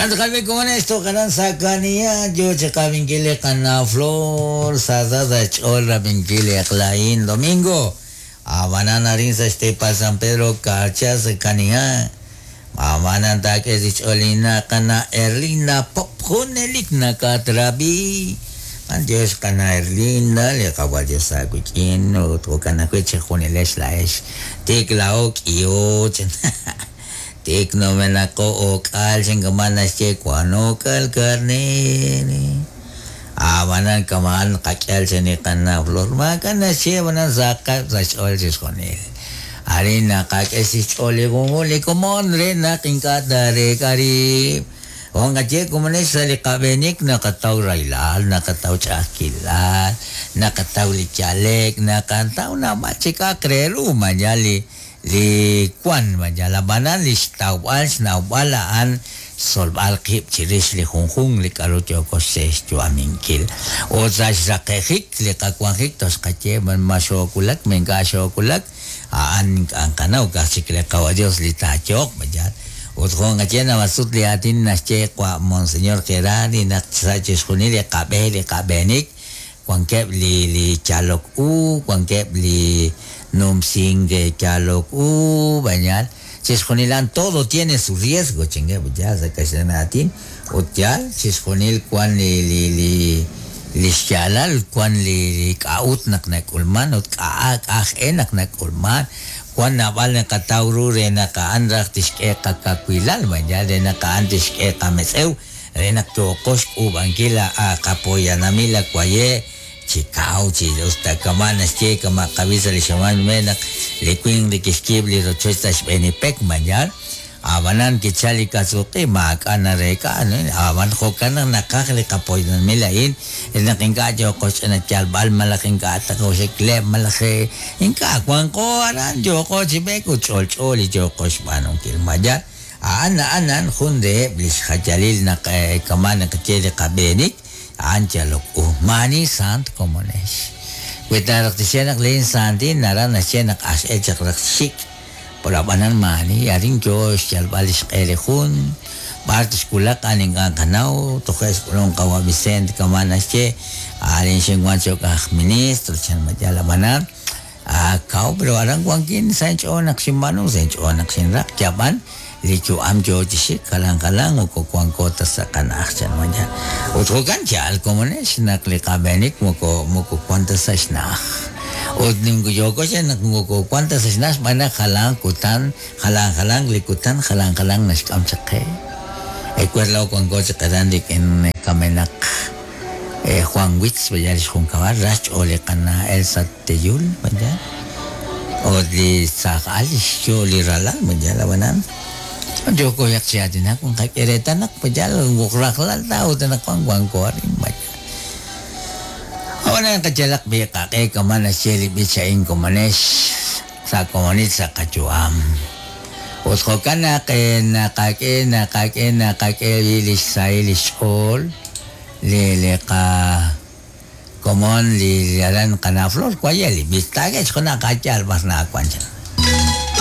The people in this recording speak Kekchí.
Jo'kan tz'aqal b'i' komonex toj aran sa' Kaniha yo chi qab'inkil li qana' Flor, sa sa sa' xch'ool rab'inkil li eq'la a'in domingo. Ab'anan arin sa' xteepal San Pedro Carchá sa' Kaniha, ab'anan taak'e chi xch'ool linna' qana' Erlinda Pop junelik nakatrab'i. B'antiox qana' Erlinda, li Qawa' Dios aawik'in ut jo'kan ajwi' chejunilex laa'ex tik laa'o k'iho chan. Tik numenaqo o'k'aal chan kama' naxye wan o'k'aal karneer. Ab'anan kama'an qak'ihal chan li qana' Flor, maak'a' naxye ab'anan sahaqeb' sa' xch'ool chixjunil. Arin naqak'e chi xch'ool li junjunq li komon re naq ink'a' taareek'a rib'. Jo' nqaye komonex sa' li qab'eenik naqataw rahilal, naqataw ch'a'ajkilal, naqataw li yale'k, naqataw naab'al chi k'a'aq re ru maayal li Li wan ma yal ab'anan li xtawb'al xnawb'al a'an xtzolb'al qib' chirix li junjunq li k'a'ru yooko xyu'aminkil. Ut sa' xraqe'jik li qawanjik toxqaye ma xoowulak ma ink'a' xoowulak, a'an ink'a' nqanaw, ka'aj chik li Qawa' Dios li taayehoq ma yaal. Ut jo' nqaye naab'al sut li aatin naxye qawa' Monseñor Gerardi naq sa' chixjunil li qab'e li qab'eenik Wankeb' li li yalok u, wankeb' li numsink yalok u, b'ayal, chixjunil a'an todo tiene su riesgo chankeb' ut yaal sa' kaxlan aatin, ut yaal chixjunil wan li li li li xyaalal, wan li li k'a'ut naq nak'ulman ut k'a' k'a' aj e naq nak'ulman, wan naab'al naqataw ru re naq a'an raj tixk'e qakawilal, b'ayal, re naq a'an tixk'e qametz'ew. Re naq yooqo xk'uub'ankil a qapoyanamil a waye' chi kaw chi us ta kama' naxye kama' qawi' sa' li xamaan nume' naq li winq li kixyiib' li rochoch sa' xb'een li pek mañal ab'anan kichal li kasuq'i maak'a' nareek'a ab'an jo'kan naq naqaj li qapoyanamil a'in re naq ink'a' yooqo xch'ina yalb'al malaj ink'a' taqoxekleb' malaj ink'a' wanqo aran yooqo chi b'eek ut ch'olch'o li yooqo xb'aanunkil mañal A'an a'an a'an jun reheb' li xjayalil naq kama' naqaye li qab'eenik, a'an yalok u. Maani saant komonex. Wi ta raj tixye naq lin saantil naraj naxye naq ax'el chaq raj xxik'. Pero ab'anan maani, arin yoo xyalb'al li xq'e li jun, b'ar tixwulaq a'an ink'a' nqanaw, toje' xk'ulunk qawa' Vicente kama' naxye, arin xinwan cho'q aj ministro chan ma yaal ab'anan, Kaw, pero aran wankin sa' inch'ool naq xinb'aanu, sa' inch'ool naq xinraq, yab'an li yu'am yoo chi xik jalan jalan moko wanko ta sa' qana'aj chan mañana. Ut jo'kan yaal komonex naq li qab'eenik moko moko wan ta sa' xna'aj. Ut yooko chi naq moko wan ta sa' xna'aj xb'aan naq jalan kutan, jalan jalanq li kutan, jalan jalanq naxk'am chaq qe. Ewer laa'o wanko chaq aran rik'in kamenaq Juan Witz, vaya li xjunkab'al, ra xch'ool li qana' Elsa Teyul, vaya. Ut li saaj al xyo' li ralal, vaya, ab'anan yooko chaq chi aatinak nqak'e reetal naq vaya rajlal ta ut anaqwan wanko arin, vaya. Ab'anan qayalaq b'i' qaq'e kama' naxye li b'ich a'in komonex sa' komonil sa' qayu'am. Ut jo'kan naq naqak'e naqak'e naqak'e b'i' li xsahil li xch'ool li li qa komon li aran qana' Flor waye' li b'ich taak'e chi junaq a'yaal b'ar naawan chan.